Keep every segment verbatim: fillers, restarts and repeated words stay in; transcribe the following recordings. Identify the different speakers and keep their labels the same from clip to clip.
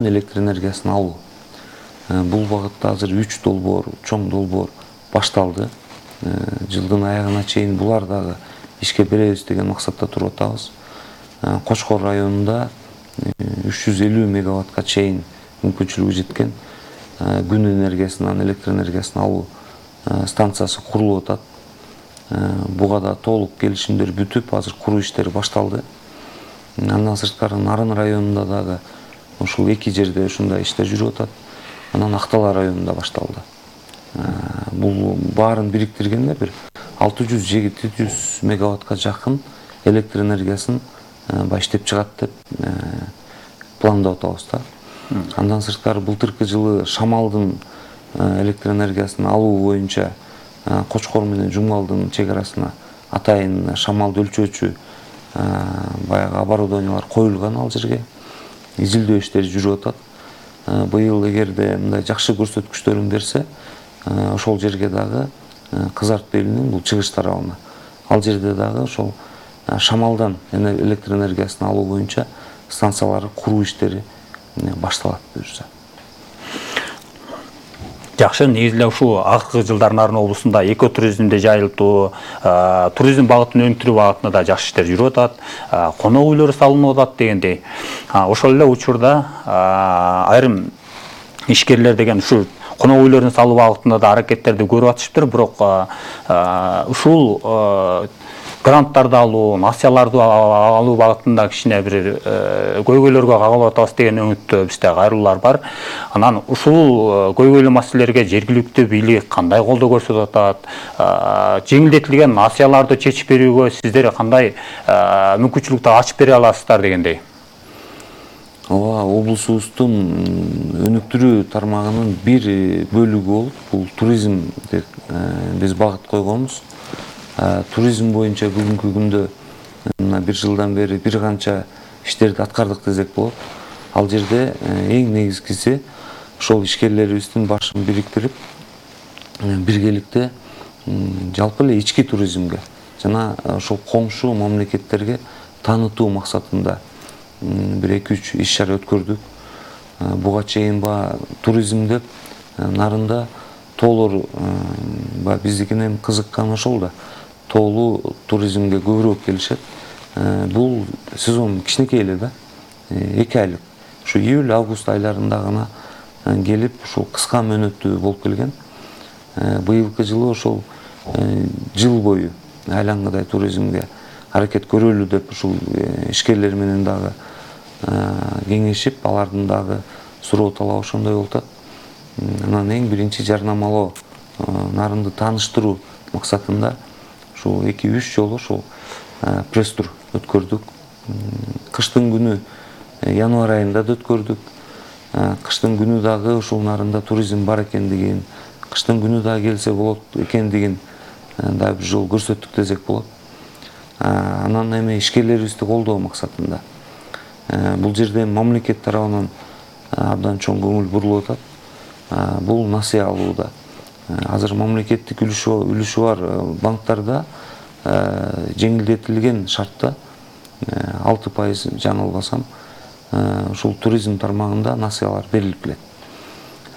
Speaker 1: электр энергиясын алуу. Бул багытта азыр үч долбоор, чоң долбоор башталды. Жылдын аягына чейин булар дагы ишке беребиз деген максатта туруп атабыз. Кочкор районунда үч жүз элүү мегаваттка чейин мүмкүнчүлүгү жеткен күн энергиясынан электр энергиясын алуу станциясы курулуп атат. Буга да толук келишимдер бүтүп, азыр куруу иштери башталды. Андан сырткары Нарын районунда дагы ушул эки жерде ушундай иштер жүрүп атат. Анан Актала районунда башталды. Бул баарын бириктиргенде бир алты жүз жети жүз мегаваттка жакын электр энергиясын иштеп чыгат деп пландап атабыз да. Андан сырткары былтыркы жылы Шамалдын электр энергиясын алуу боюнча Кочкор менен Жумгалдын чек арасына атайын шамалды өлчөөчү баягы оборудованиялар коюлган ал жерге. Изилдөө иштери жүрүп атат. Быйыл эгерде мындай жакшы көрсөткүчтөрүн берсе, ошол жерге дагы Кызарт белинин бул чыгыш тарабына. Ал жерде дагы ошол Шамалдан электр энергиясын алуу боюнча станцияларды куруу иштери башталат буюрса.
Speaker 2: Жакшы, негизи ушул акыркы жылдар Нарын облусунда экотуризмди жайылтуу, туризм багытын өнүктүрүү багытында да жакшы иштер жүрүп атат. Конок үйлөр салынып атат дегендей. Ошол эле учурда айрым ишкерлер деген ушул конок үйлөрүн салуу багытында да аракеттерди көрүп атышыптыр, бирок ушул гранттарды алуу, насыяларды алуу багытында кичине бир көйгөйлөргө кагылып атабыз деген үмүттө бизде кайрылуулар бар. Анан ушул көйгөйлүү маселелерге жергиликтүү бийлик кандай колдоо көрсөтүп атат? Жеңилдетилген насыяларды чечип берүүгө сиздер кандай мүмкүнчүлүктү ачып бере аласыздар дегендей?
Speaker 1: Ооба, облусубуздун өнүктүрүү тармагынын бир бөлүгү болуп, бул туризм деп биз багыт койгонбуз. Туризм боюнча бүгүнкү күндө мына бир жылдан бери бир канча иштерди аткардык десек болот. Ал жерде эң негизгиси ошол ишкерлерибиздин башын бириктирип, биргеликте жалпы эле ички туризмге жана ошол коңшу мамлекеттерге таанытуу максатында бир эки үч иш чара өткөрдүк. Буга чейин ба туризм деп Нарында тоолор биздикинен кызыккан ошол да. Тоолуу туризмге көбүрөөк келишет. Бул сезон кичинекей эле да, эки айлык. Ушу июль август айларында гана келип, ушул кыска мөөнөттүү болуп келген. Быйылкы жылы ошол жыл бою айлангыдай туризмге аракет көрөлү деп ушул ишкерлер менен дагы кеңешип, алардын дагы суроо талабы ошондой болуп атат. Анан эң биринчи жарнамалоо, Нарынды тааныштыруу максатында ушул эки үч жолу ушул пресс-тур өткөрдүк. Кыштын күнү январь айында да өткөрдүк. Кыштын күнү дагы ушул Нарында туризм бар экендигин, кыштын күнү дагы келсе болот экендигин да бир жол көрсөттүк десек болот. Анан эми ишкерлерибизди колдоо максатында бул жерде мамлекет тарабынан абдан чоң көңүл бурулуп атат. Бул насыя алууда. Азыр мамлекеттик үлүшү бар банктарда жеңилдетилген шартта алты пайыз жаңылбасам ушул туризм тармагында насыялар берилип келет.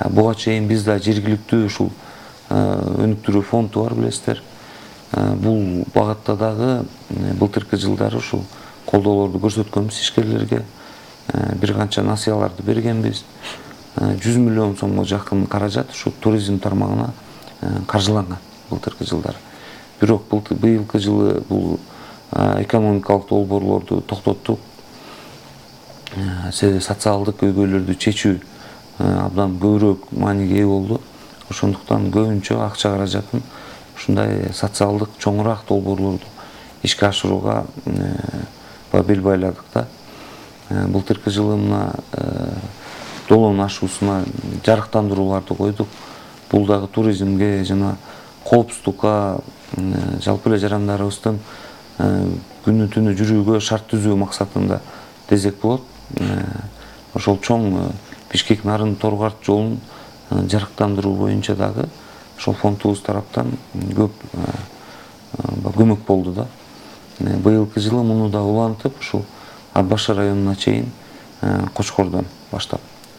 Speaker 1: Буга чейин бизде жергиликтүү ушул өнүктүрүү фонду бар, билесиздер. Бул багытта дагы былтыркы жылдары ушул колдоолорду көрсөткөнбүз ишкерлерге. Бир канча насыяларды бергенбиз. жүз миллион сомго жакын каражат ушу туризм тармагына каржыланган былтыркы жылдары. Бирок быйылкы жылы бул экономикалык долбоорлорду токтоттук. Социалдык көйгөйлөрдү чечүү абдан көбүрөөк мааниге ээ болду. Ошондуктан көбүнчө акча каражатын ушундай социалдык чоңураак долбоорлорду ишке ашырууга бел байладык да. Былтыркы жылы мына Долоон ашуусуна жарыктандырууларды койдук. Бул дагы туризмге жана коопсуздукка, жалпы эле жарандарыбыздын күнү түнү жүрүүгө шарт түзүү максатында десек болот. Ошол чоң Бишкек Нарын Торгарт жолун жарыктандыруу боюнча дагы ошол фондубуз тараптан көп көмөк болду да. Быйылкы жылы муну да улантып, ушул Ат башы районуна чейин Кочкордон баштап